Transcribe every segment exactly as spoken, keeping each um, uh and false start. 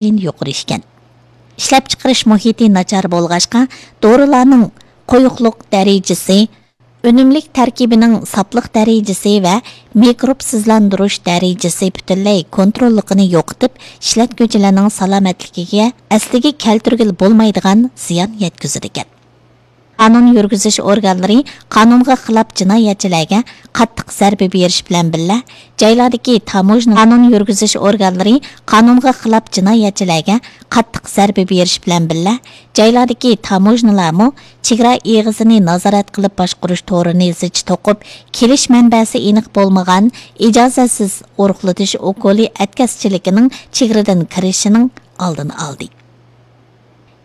يۇقىرى ئىكەن. ئىشلەپچىقىرىش مۇھىتى ناچار بولغاچقا، دورىلارنىڭ قويۇقلۇق دەرىجىسى، ئۈنۈملۈك تەركىبىنىڭ ساپلىق دەرىجىسى ۋە مىكروبسىزلاندۇرۇش دەرىجىسى پۈتۈنلەي كونتروللۇقىنى يوقىتىپ، ئىشلەتكۈچىلەرنىڭ سالامەتلىكىگە ئەسلىگە كەلتۈرگىلى بولمايدىغان زىيان يەتكۈزىدىكەن. قانۇن يۈرگۈزۈش ئورگانلىرى قانۇنغا خىلاپ جىنايەتچىلەرگە قاتتىق زەربە بېرىش بىلەن بىللە، جايلاردىكى تاموژنا، قانۇن يۈرگۈزۈش ئورگانلىرى قانۇنغا خىلاپ جىنايەتچىلەرگە قاتتىق زەربە بېرىش بىلەن بىللە، جايلاردىكى تاموژنىلارمۇ چېگرا ئېغىزىنى نازارەت قىلىپ باشقۇرۇش تورىنى زىچ توقۇپ، كېلىش مەنبەسى ئېنىق بولمىغان ئىجازەتسىز ئورۇقلىتىش ئوكۇلى ئەتكەسچىلىكىنىڭ چېگرىدىن كىرىشىنىڭ ئالدىنى ئالدى.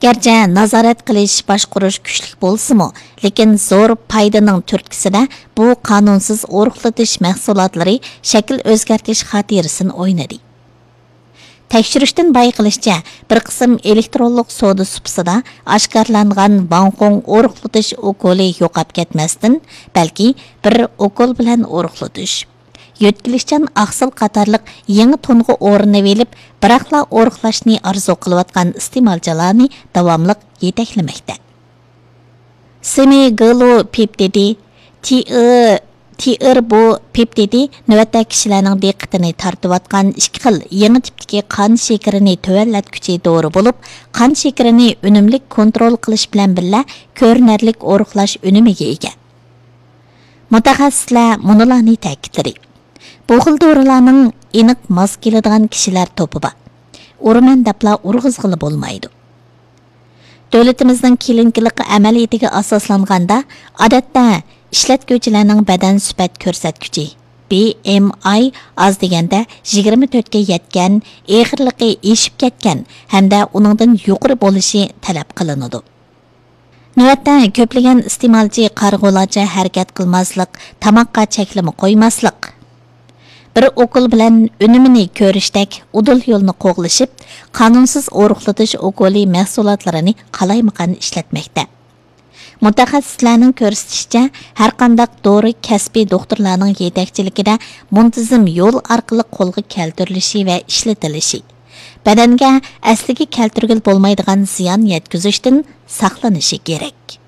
گەرچە نازارەت قىلىش، باشقۇرۇش كۈچلۈك بولسىمۇ، لېكىن زور پايدىنىڭ تۈرتكىسىدە بۇ قانۇنسىز ئورۇقلىتىش مەھسۇلاتلىرى شەكىل ئۆزگەرتىش خاتىرىسىنى ئوينىدى. تەكشۈرۈشتىن بايقىلىشىچە، بىر قىسىم ئېلېكترونلۇق سودا سۇپىسىدا ئاشكارىلانغان ۋاڭخۇڭ ئورۇقلىتىش ئوكۇلى يوقاپ كەتمەستىن، بەلكى بىر ئوكۇل بىلەن ئورۇقلىتىش، يۆتكىلىشچان ئاقسىل قاتارلىق يېڭى تونغا ئورىنىۋېلىپ، بىراقلا ئورۇقلاشنى ئارزۇ قىلىۋاتقان ئىستېمالچىلارنى داۋاملىق يېتەكلىمەكتە. سېمىگلۇپېپتىدى، تىئى-، تىئىربۇپېپتىدى نۆۋەتتە كىشىلەرنىڭ دىققىتىنى تارتىۋاتقان ئىككى خىل يېڭى تىپتىكى قان شېكىرىنى تۆۋەنلەتكۈچى دورا بولۇپ، قان شېكىرىنى ئۈنۈملۈك كونترول قىلىش بىلەن بىللە، كۆرۈنەرلىك ئورۇقلاش ئۈنۈمىگە ئىگە. مۇتەخەسسىسلەر مۇنۇلارنى تەكىتلىدى: بۇ خىل دورىلارنىڭ ئېنىق ماس كېلىدىغان كىشىلەر توپى بار. ئۇرىمەن دەپلا ئۇرغۇزغىلى بولمايدۇ. دۆلىتىمىزنىڭ كلىنىكىلىق ئەمەلىيىتىگە ئاساسلانغاندا، ئادەتتە ئىشلەتكۈچىلەرنىڭ بەدەن سۈپەت كۆرسەتكۈچى، بى ئېم ئاي، ئاز دېگەندە يىگىرمە تۆتكە يەتكەن، ئېغىرلىقى ئېشىپ كەتكەن ھەمدە ئۇنىڭدىن يۇقىرى بولۇشى تەلەپ قىلىنىدۇ. نۆۋەتتە كۆپلىگەن ئىستېمالچى قارىغۇلارچە ھەرىكەت قىلماسلىق، تاماققا چەكلىمە قويماسلىق، بىر ئوكۇل بىلەن ئۈنۈمىنى كۆرۈشتەك ئۇدۇل يولنى قوغلىشىپ، قانۇنسىز ئورۇقلىتىش ئوكۇلى مەھسۇلاتلىرىنى قالايمىقان ئىشلەتمەكتە. مۇتەخەسسىسلەرنىڭ كۆرسىتىشىچە، ھەرقانداق دورا كەسپىي دوختۇرلارنىڭ يېتەكچىلىكىدە مۇنتىزىم يول ئارقىلىق قولغا كەلتۈرۈلۈشى ۋە ئىشلىتىلىشى، بەدەنگە ئەسلىگە كەلتۈرگىلى بولمايدىغان زىيان يەتكۈزۈشتىن ساقلىنىشى كېرەك.